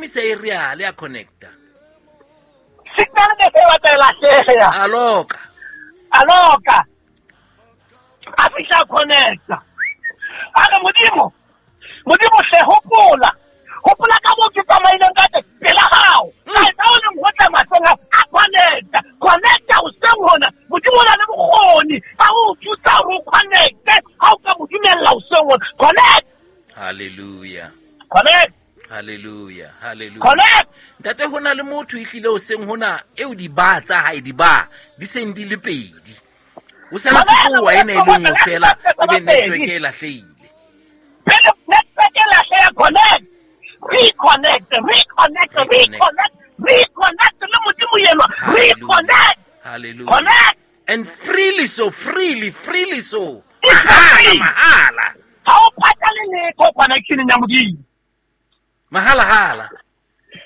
Šomisa aerial ya connecta. Signal ne se batla e lahleha. A loka. A loka. A fihla a connecta. A re Modimo, Modimo hle hopola. Hopola ka moo ke tsamaileng ka teng pela hao. Ka etsa o leng ho tla mahlong a a connecta. Connecta hoseng hona. Modimo o na le bokgoni ba ho o thusa hore o connecte ha o ka mo dumella hoseng hona. Connect. Hallelujah. Connect. Hallelujah. Hallelujah. Connect. Ntate ho na le motho ehlile hoseng hona eo diba tsa hae diba di seng di le pedi. O sala sekowa ena e le nngwe fela ebe network e lahlehile. Pele network e lahleha connect. Reconnect, reconnect, reconnect, reconnect le Modimo enwa. Reconnect. Hallelujah. Connect. And freely so, freely, freely so. It's Mahala, free. mahala. Ha o patale letho connection ya Modimo. Mahala hala.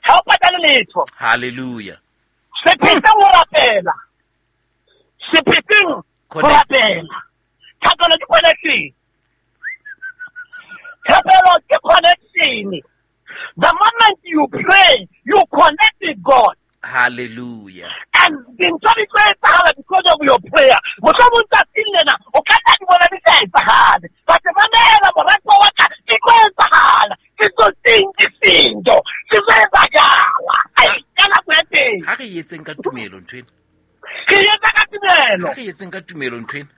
Ha o patale letho. Hallelujah. Se phetseng ho rapela. Se phetseng ho Connect. rapela. Thapelo ke connection. Thapelo ke connection. The moment you pray, you connect with God. Hallelujah. And dintho di tlo etsahala because of your prayer. Mohlomong tsatsing lena o ka nna di bona di sa etsahale. But mamela moratuwa wa ka, di tlo etsahala. Ke tsotsing ke sento. Se tlo etsakala. Ai, ka nako ya teng. Ha re etseng ka tumelo ntho ena. Re etsa ka tumelo. Ha re etseng ka tumelo ntho ena.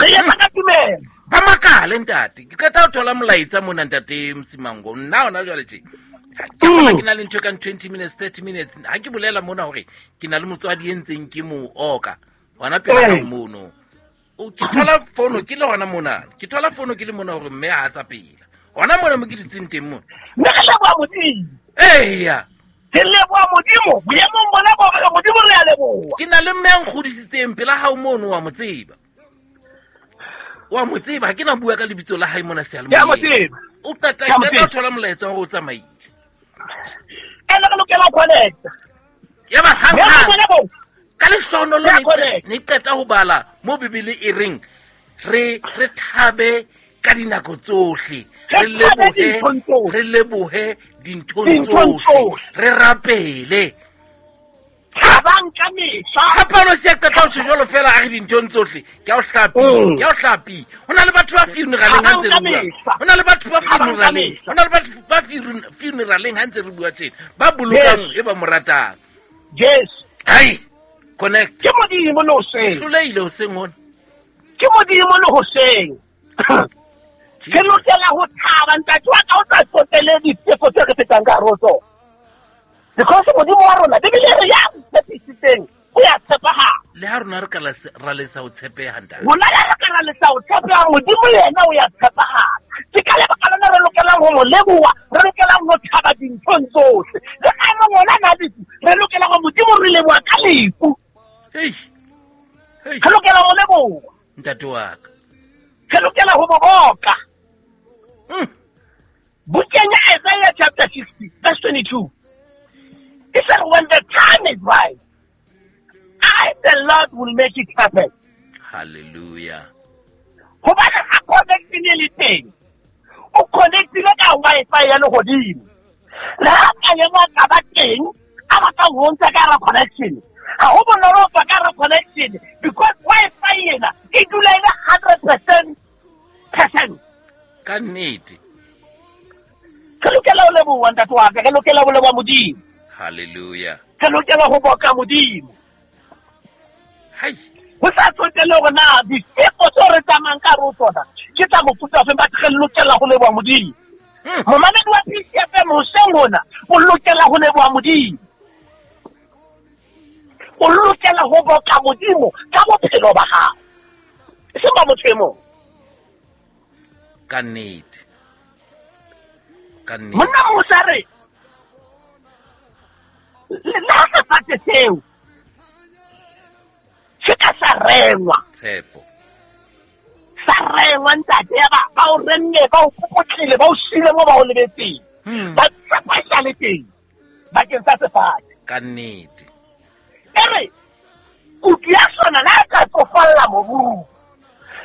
Re etsa ka tumelo. Ba makale ntate. Ke qeta ho thola molaetsa mona ntate Msimango. Nna hona jwale tje. Ke kgona ke na le ntho e kang 20 minutes, 30 minutes. Ha ke bolela mona hore ke na le motswadi e ntseng ke mo oka. Hona pela hao mono. O ke thola fono ke le hona mona. Ke thola fono ke le mona hore mme ha a sa phela. Hona mona mo ke dutseng teng mona. Mme re leboha Modimo. Eya. Re leboha Modimo. Boemong bona bo re Modimo re a leboha. Ke na le mme a nkgodisitseng pela hao mono wa mo tseba. Wa mo tseba, ha ke na bua ka lebitso la hae mona seyalemoyeng. Ke a mo tseba. O qeta Ke a mo qeta ho tseba. thola molaetsa hore o tsamaile. Ene re lokela ho connecta. Ya ba hang Ya ba hang. bona bo. Ka lehlohonolo Ya connect. ne qeta ho bala mo Bibele e reng re thabe ka dinako tsohle. Re Re thabe lebohe, dinthong tsohle. re lebohe dinthong Dinthong tsohle. tsohle. Re rapele. Thabang ka mehla. Ha Paulo se a qeta ho tjho jwalo fela a re dinthong tsohle. Ke a o hlapi, ke a o hlapi. Ho na le batho ba funeraleng ha ntse re Thabang ka bua. mehla. Ho na le batho ba Thabang ka funeraleng. mehla. Ho na le batho ba funeraleng ha ntse re bua tjena. Ba bolokang Yes. e ba mo ratang. Yes. Hai, connect. Ke Modimo le hoseng. Hlolehile hoseng hona. Ke Modimo le hoseng. Re Jesus. lokela ho thaba ntate wa ka o sa tsotele diteko tse re fetang ka hare ho tsona. Because Modimo wa rona Bibele e re ya tshepisitseng o ya tshepahala. Le ha rona re ka ra lesa ho tshepeha ntate. Rona le ha re ka ra lesa ho tshepeha, Modimo yena o ya tshepahala. Ke ka lebaka lona re lokelang ho mo leboha, re lokelang ho thaba dinthong tsohle. Le ha e mong ona na lefu, re lokela ho Modimo re leboha ka lefu. Hei. Hei. Re lokela ho leboha. Ntate wa ka. Re lokela ho mo boka. Bukeng ya Isaiah chapter 60, verse 22. He said, when the time is right, I, the Lord, will make it happen. Hallelujah. Hobane ha connection e le teng, o connectile ka Wi-Fi ya lehodimo. Le ha ka ema ka ba teng, a batla ho ntsha ka hara connection. Ha ho bonolo ho tswa ka hara connection because Wi-Fi ena e dula e le 100%. Ka nnete. Re lokela ho leboha ntate wa ka, re lokela ho leboha Modimo. Hallelujah. Re lokela ho boka Modimo. Hai. Ho sa tsotelle hore na diteko tseo re tsamayang ka hare ho tsona ke tsa mofuta ofe, but re lokela ho leboha Modimo. Momamedi wa PCFM hoseng hona o lokela ho leboha Modimo. O lokela ho boka Modimo ka bophelo ba hao. E seng ba motho e mong. Ka nnete. Ka nnete. Monna Musa re, le ha sefate seo se ka sa rengwa. Tshepo. Sa rengwa ntate, ya ba o renne, ba o popotlile, ba o siile mo ba o lebetseng. Ba tshepa e sa le teng bakeng sa sefate. Ka nnete. E re, kutu ya sona le ha e ka tsofalla mobung.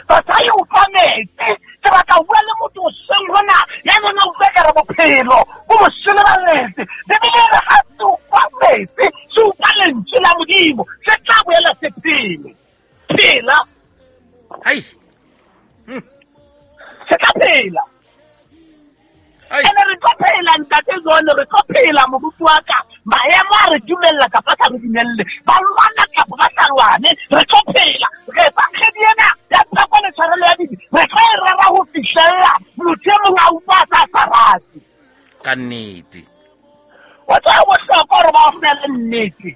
Batho ha e utlwa metsi, ke batla ho bua le motho hoseng hona, ya neng a utlwa ekare bophelo O mo seleballetse. Bibele e re ha se utlwa metsi, se utlwa lentswe la Modimo, se tla boela se phele. Phela. Hai. Se tla phela. Ene re tlo phela ntate John, re tlo phela moruti wa ka. Maemo a re dumella kapa sa re dumelle. Ba lwana kapa ba sa lwane, re tlo phela. Re evangedi ena ya pheko le tshwarelo ya dibe, re tlo e rera ho fihlella motho e mong a utlwa a sa sa rate. Ka nnete. Wa tseba ho bohlokwa hore ba o fele nnete.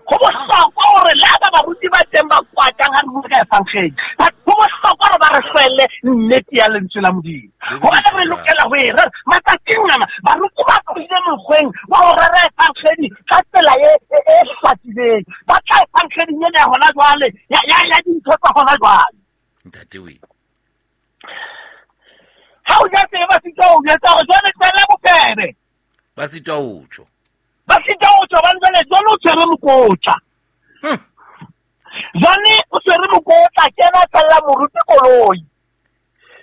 Ho bohlokwa hore le ha ba baruti ba teng ba kwatang ha re bua ka evangedi, but ho bohlokwa hore ba re hlwelle nnete ya lentswe la Modimo. Hobane re lokela ho e rera. Matsatsing ana baruti ba tlohile mokgweng wa ho rera evangedi ka tsela e hlakileng. Ba tla evangeding ena ya hona jwale, ya dintho tsa hona jwale. Ntate we. Ha o ja tsebe ba sitwa ho jwetsa hore jwale tlohella bofebe. Ba sitwa ho tjho. Ba sitwa ho tjho, hobane jwale jwale o tshwere mokotla. Jwale o tshwere mokotla, ke yena a tshella moruti koloi.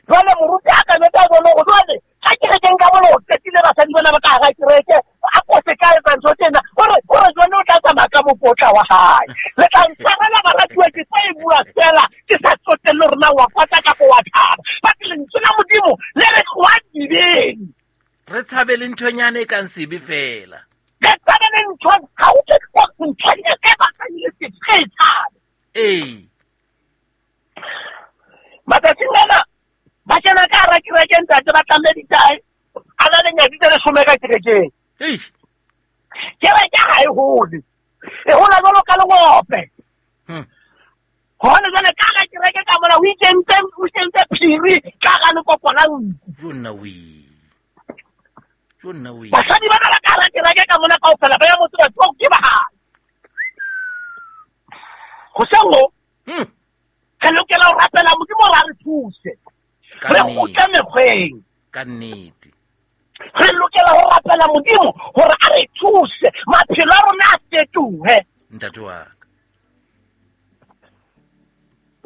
Jwale moruti a ka jwetsa jwale hore jwale ha kerekeng ka mona o qetile basadi bana ba ka hara kereke, a ko se ka etsa ntho tsena, o re jwale o tla tsamaya ka mokotla wa hae. Le tla ntshwarela baratuwa, ke tlo e bua fela, ke sa tsotelle hore na wa kwata kapa wa thaba. But lentswe la Modimo le re tloha dibeng. Re tshabe le nthonyana e kang sebe fela. Re tshabe le ntho, ha o ke tloha nthonyana e batlang e le sebe, re e tshabe. Ee. Matsatsing ana ba kena ka hara kereke ntate, ba tlamme ditae, a na le nyatsi tse 10 ka kerekeng. Eish. Kereke ha e hole. E hola jwalo ka lengope. Hobane jwale ka hara kereke ka mona o ikentse phiri ka hara lekoko la nku. Jonna we. Jonna we. Basadi bana ba ka hara kereke ka mona kaofela ba ya motse ba tlo ke ba hae. Hoseng ho, re lokela ho rapela Modimo hore a re thuse. Re kgutle mekgweng. Ka nnete. Re lokela ho rapela Modimo hore a re thuse, maphelo a rona a fetohe. Ntate wa ka.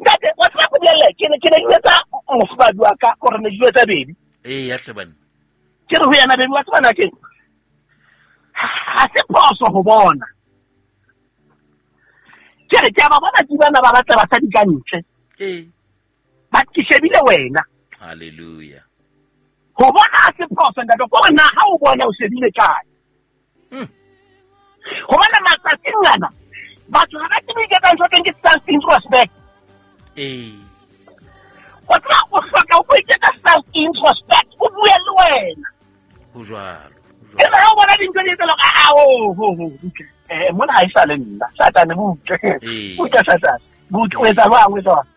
Ntate, wa tseba ko bolelle, ke ne ke jwetsa mofumahadi wa ka hore ne ke jwetsa baby. Ee, ya hle banna. Ke re ho yena, baby, wa tseba na keng? Ha se phoso ho bona. Ke re ke a ba bona ke bana ba batla basadi ka ntle. Ee. But ke shebile wena. Hallelujah. Ho bona ha se phoso ntate, ko re na ha o bona o shebile kae? Hobane matsatsing ana batho ha ba tsebe ho iketsa ntho teng ke self-introspect. Ee. O tseba o hloka ho iketsa self-introspect, o bue le wena. Ho jwalo. Ebe ha o bona dintho di etsahala, a, oh, ho, ho, butle. Mona ha e sa le nna. Satane, butle. Butle, Satane. Butle, o etsa jwang, o etsa jwang?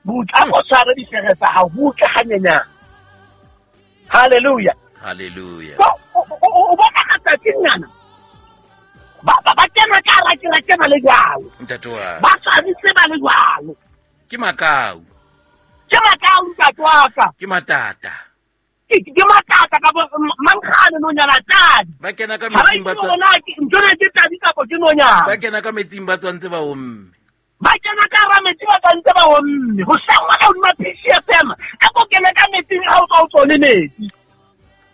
Butle, a ko tshware difere tsa hao, butle hanyenyane. Hallelujah. Hallelujah. So, o bona matsatsing ana, ba kena ka hara kereke ba le jwalo. Ntate wa. Ba tshwanetse ba le jwalo. Ke makau. Ke makau, ntate wa ka. Ke matata. Ke matata ka bo mankgane nonyana tadi. Ba kena ka Ha ba metsing ba itse tswa- hore na ke ntho ena ke tadi kapa ke nonyana. Ba kena ka metsing ba tswantse ba omme. Ba kena ka hara metsi ba tswantse ba omme. Ho sangwa ka hodima PCFM, a ko kene ka metsing ha o tswa o tswa le metsi.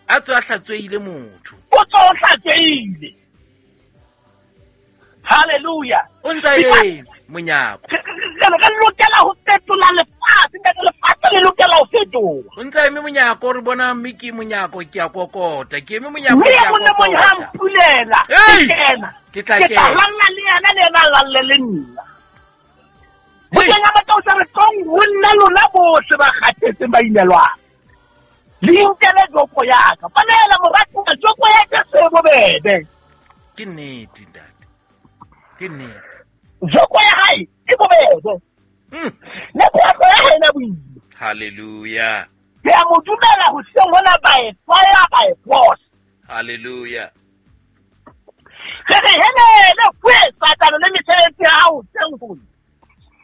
A tswa a hlatswehile motho. O tswa o hlatswehile. Hallelujah. O ntsa eme monyako. Re lokela ho fetola lefatshe, ntate, lefatshe le lokela ho fetoha. O ntsa eme monyako, re bona mme ke monyako, ke a kokota. Ke eme monyako, Mme ke a e mong le mong ha kokota. mpulela, Hey! ke kena. Ke tla Ke tla kena. lalla le yena, le yena a lalle le nna. Hey! Bukeng ya Mattheu se re, tlong ho nna lona bohle ba kgathetseng ba imelwang. Le inkele joko ya ka. Mamela, moratuwa, joko ya Jesu e bobebe. Ke nnete, ntate. Ke nnete. Joko ya hae e bobebe. Le phahlo ya hae ena boima. Hallelujah. Ke a mo dumela hoseng hona by fire, by force. Hallelujah. Re re helele kwe Satane le mesebetsi ya hao hoseng hona.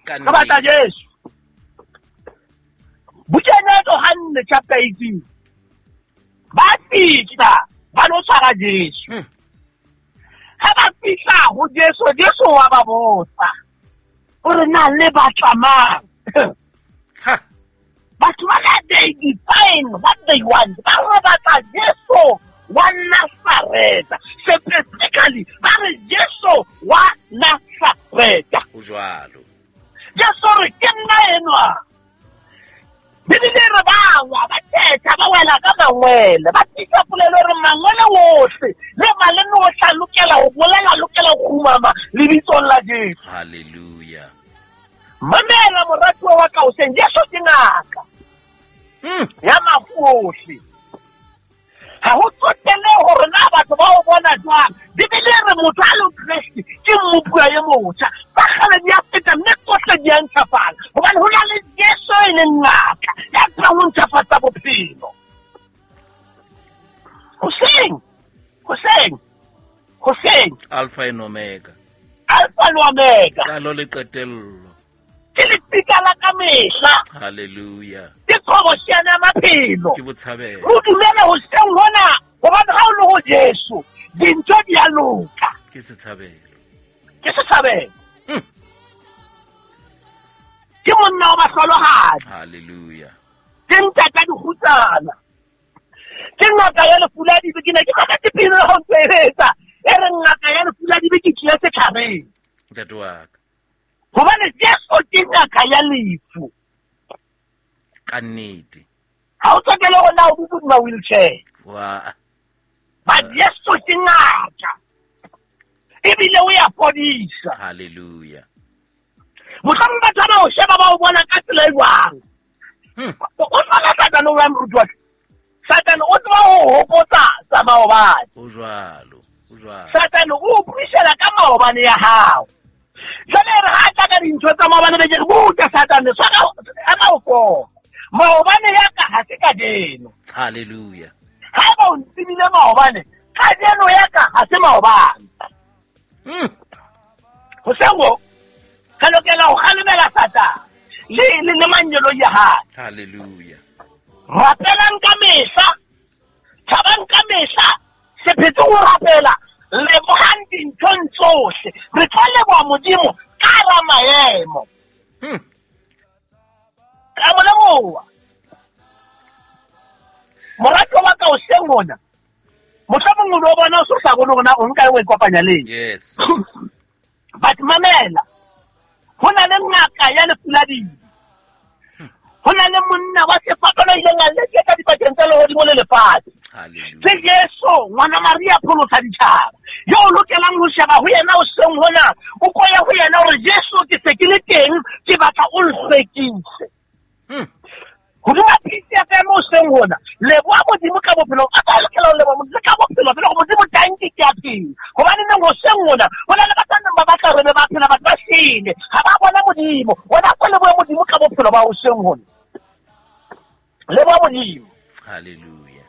Ka Re batla nnete. Jesu. Bukeng ya Johanne chapter 18. Ba fihla ba lo tshwara Jesu. Ha ba fihla ho Jesu, Jesu wa ba botsa. O re na le batla mang? Ha. Batho ba they define what they want. Ba re batla Jesu wa Nazareta. Specifically, ba re Jesu wa Nazareta. O jwalo. Jesu re ke nna enwa. Bibele re ba wa ba thetha ba wela ka mangwele. Ba tlisa polelo re mangwele wohle le maleme o tla lokela ho bolela lokela ho kgumama lebitsong la Jesu. Hallelujah. Mamela moratuwa wa ka hoseng, Jesu ke ngaka ya mafu ohle. Ha ho tsotelle hore na batho ba o bona jwang. Bibele e re motho a le Kreste ke mmopuwa e motjha. Tsa kgale di a feta mme tsohle di a ntjhafala. Hobane ho na le Jesu e leng ngaka ya tlang ho ntjhafatsa bophelo. Hoseng, hoseng, hoseng. Alpha and Omega. Alpha le Omega. Qalo le qetello. Ke lefika la ka mehla. Hallelujah. Ke qhobosheane ya maphelo. Ke botshabelo. O dumele hoseng hona hobane ha o le ho Jesu dintho di a loka. Ke setshabelo. Ke setshabelo. Ke monna wa bahlolohadi. Hallelujah. Ke ntata dikgutsana. Ke ngaka ya lefu la dibe. Ke ne ke mametse pina ha o ntse e etsa. E re ngaka ya lefu la dibe ke tlile setjhabeng. Ntate wa ka. Hobane Jesu ke ngaka ya lefu. Ka nnete. Ha o tsotelle hore na o dutse hodima wheelchair. Wa. Ba Jesu ke ngaka. Ebile o ya fodisa. Hallelujah. Mohlomong batho ba o sheba ba o bona ka tsela e jwang. O tswana Satane o jwang moruti wa ka? Satane o tseba ho hopotsa tsa maobane. O jwalo, o jwalo. Satane o buisela ka maobane ya hao. Jwale re ha tla ka dintho tsa maobane be ke re buta Satane tshwara ema o fo. Maobane ya ka ha se kajeno. Hallelujah. Haeba o ntsebile maobane, kajeno ya ka ha se maobane. Hoseng ho re lokela ho kgalemela Satane le mangeloi a hae. Hallelujah. Rapelang ka mehla, thabang ka mehla, se phetse ho rapela, lebohang dinthong tsohle. Re tlo leboha Modimo ka hara maemo. Ka mo leboha. Moratuwa wa ka hoseng hona, mohlomong o no bona o so sa bone hore na o nka o ikopanya le eng. Yes. But mamela, ho na le ngaka ya lefu la dibe. Ho na le monna wa sefapano a ileng a leketsa dipakeng tsa lehodimo le lefatshe. Hallelujah. Ke Jesu, ngwana Maria pholosa ditjhaba. Yo o lokelang ho sheba ho yena hoseng hona, o koya ho yena hore Jesu ke se ke le teng, ke batla o nhlwekise. Hodima pitsi ya ka mo hoseng hona, leboha Modimo ka bophelo. A ka lokela ho leboha Modimo ka bophelo, fela hore Modimo tanki ke a phela. Hobane neng hoseng hona, ho na le batho ba neng ba batla hore be ba phela, batho ba shwele. Ha ba bona Modimo. Wena ko lebohe Modimo ka bophelo ba hoseng hona. Leboha Modimo. Hallelujah.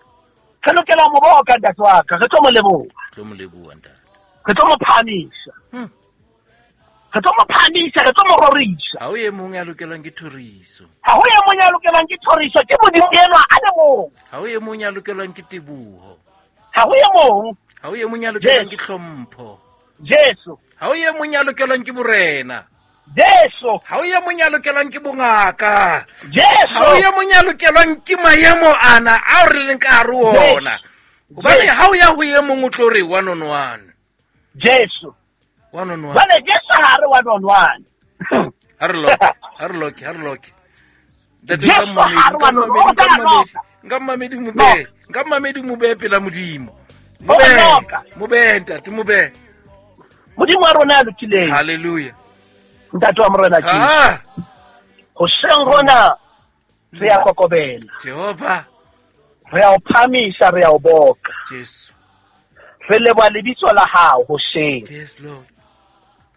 Re lokela ho mo boka ntate wa ka, re tlo mo leboha. Tlo mo leboha ntate. Re tlo mo phahamisa. Re tlo mo phahamisa, re tlo mo rorisa. Ha ho e mong ya lokelwang ke thoriso. Ha ho e mong ya lokelwang ke thoriso, ke Modimo enwa a le mong. Ha ho e mong ya lokelwang ke teboho. Ha ho e mong. Ha ho e mong ya lokelwang ke hlompho. Jesu. Ha ho e mong ya lokelwang ke borena. Jesu. Ha ho e mong ya lokelwang ke bongaka. Jesu. Ha ho e mong ya lokelwang ke maemo ana ao re leng ka hare ho ona. Hobane ha o ya ho e mong o tlo re one on one. Jesu. One on one. Jwale Jesu ha re one on one. Ha re loke, ha re loke, ha re loke. Ntate Jesu ha re one on one. Nka mmamedi mobe, nka mmamedi mobe pela Modimo. Mobe ntate, mobe. Modimo wa rona ya lokileng. Hallelujah. Ntate wa Morena Jesu. Hoseng hona re ya kokobela. Jehova. Re ya o phamisa, re ya o boka. Jesu. Re leboha lebitso la hao hoseng. Yes Lord.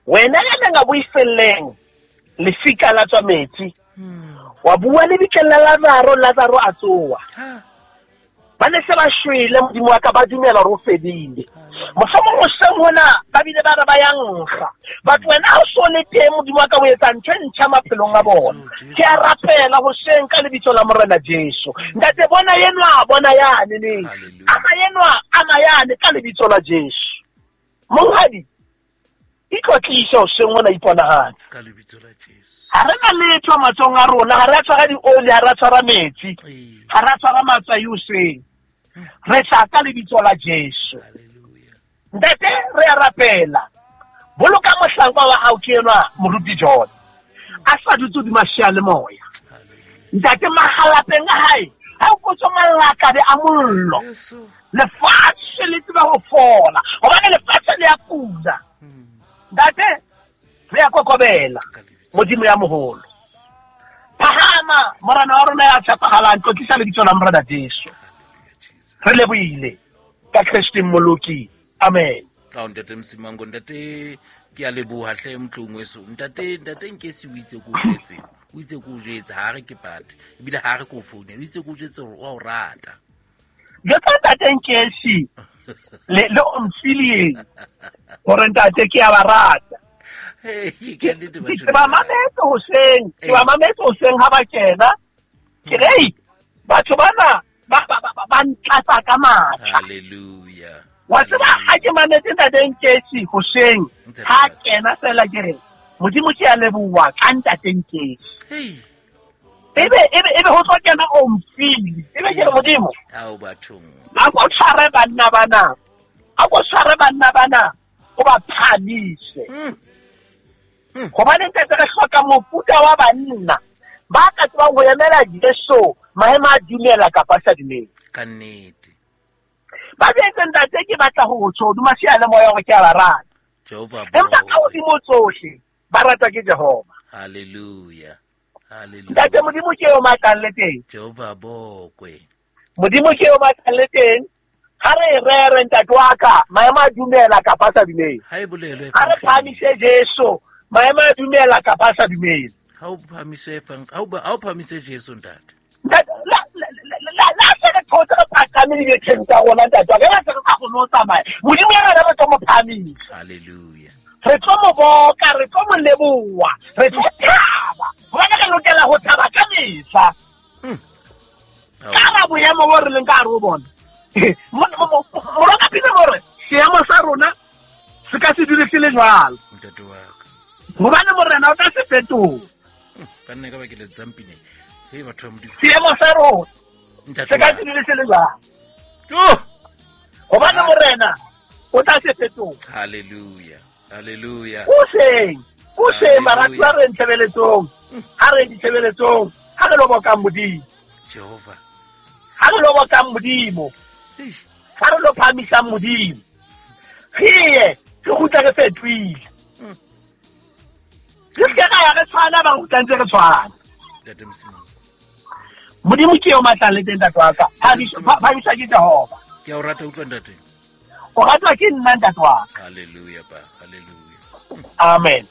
Wena ya neng a buiselleng lefika la tswa metsi. Wa bua lebitleng la Lazaro, Lazaro a tsoha. Ba ne se ba shwele, Modimo wa ka, ba dumela hore o fedile. Mohlomong hoseng hona ba bile ba re ba ya nkga. But wena ha o so le teng, Modimo wa ka, o etsa ntho e ntjha maphelong a bona. Ke a rapela hoseng ka lebitso la Morena Jesu. Ntate, bona enwa, bona yane neng. Ama enwa, ama yane ka lebitso la Jesu. Monghadi, Itlotlise hoseng hona, iponahatse. Ka lebitso la Jesu. Ha re na letho matsohong a rona, ha re a tshwara dioli, ha re a tshwara metsi, ha re a tshwara matswai hoseng. Re tla ka lebitso la Jesu. Hallelujah. Ntate, re a rapela. Boloka mohlanka wa hao ke enwa Moruti John. A sa dutse hodima seyalemoya. Hallelujah. Ntate, mahalapeng a hae, ha o kotswa malakabe a mollo. Jesu. Lefatshe le tseba ho fola, hobane lefatshe le a kula. Ntate, re a kokobela. Ka lebitso. Modimo ya moholo. Phahama, morena wa rona ya tshepahalang, tlotlisa lebitso la Morena Jesu. Hallelujah, Jesus. Re lebohile ka Kreste Mmoloki. Amen. Ao ntate Msimango, ntate ke a leboha hle motlong weso. Ntate, ntate Nkesi o itse ko o jwetse. O itse ko o jwetse, ha re ke pate. Ebile ha re ko o founela, o itse ko o jwetse hore o a o rata. Jwetsa ntate Nkesi le le Omfileng hore ntate ke a ba rata. Hey, ke nnete batho. Ke ba mametse hoseng, ke ba mametse hoseng ha ba kena. Ke re, "Ei, batho bana ba ba ba ba ntlatsa ka matla." Hallelujah. Wa tseba ha ke mametse ntate Nkesi hoseng, ha kena fela ke re, Modimo ke a leboha ka ntate Nkesi. Hey. Ebe ebe ebe ho tlo kena Omfile. Ebe ke re Modimo, Ao bathong. a ko tshware banna bana. A ko tshware banna bana o ba phahamise. Hobane ntate re hloka mofuta wa banna ba ka tsebang ho emela Jesu maemo a dumela kapa a sa dumele. Ka nnete. Ba jwetse ntate ke batla ho tjho hodima seyalemoya hore ke a ba rata. Jehova Empa ka bo. hodimo tsohle ba ratwa ke Jehova. Hallelujah. Hallelujah. Ntate Modimo ke eo matlang le teng. Jehova bokwe. Modimo ke eo matlang le teng. Ha re e rere ntate wa ka, maemo a dumela kapa a sa dumele. Ha e bolelwe Ha re evangeleng. phahamise Jesu, maemo a dumela kapa a sa dumele. Ha o phahamise efang, ha o ba- ha o phahamise Jesu ntate. Ntate, la la la la se re thotse re phaqame dibetheng tsa rona ntate wa ka, la se re sa kgone ho tsamaya. Modimo yena re tlo mo phahamisa. Hallelujah. Re tlo mo boka, re tlo mo leboha, re tlo thaba. Hobane re lokela ho thaba ka mehla. Ao. Ka la boemo bo re leng ka hare ho bona. Moroka pina mo re, seemo sa rona se ka se dule se le jwalo. Ntate wa ka. Hobane morena o tla se fetola. Banna ka ba ke le tsampine. Hey batho ba Modimo. Seemo sa rona Ntate se ka wa se ka. dule se le jwalo. Oh! Hobane morena o tla se fetola. Hallelujah. Hallelujah. Hoseng, hoseng baratuwa Hallelujah. re ntshebeletsong. Ha re ditshebeletsong, ha re lo bokang Modimo. Jehova. Ha re lo bokang Modimo. Eish. Ha re lo phahamisang Modimo. Re ye, re kgutle re fetohile. Re se ke ra ya re tshwana, ba kgutla ntse re tshwana. Ntate Msimango. Modimo ke eo matlang le teng ntate wa ka. Phahamiswa ke Jehova. Ke a o rata utlwa ntate. O ratwa ke nna ntate wa ka. Hallelujah pa. Hallelujah. Amen.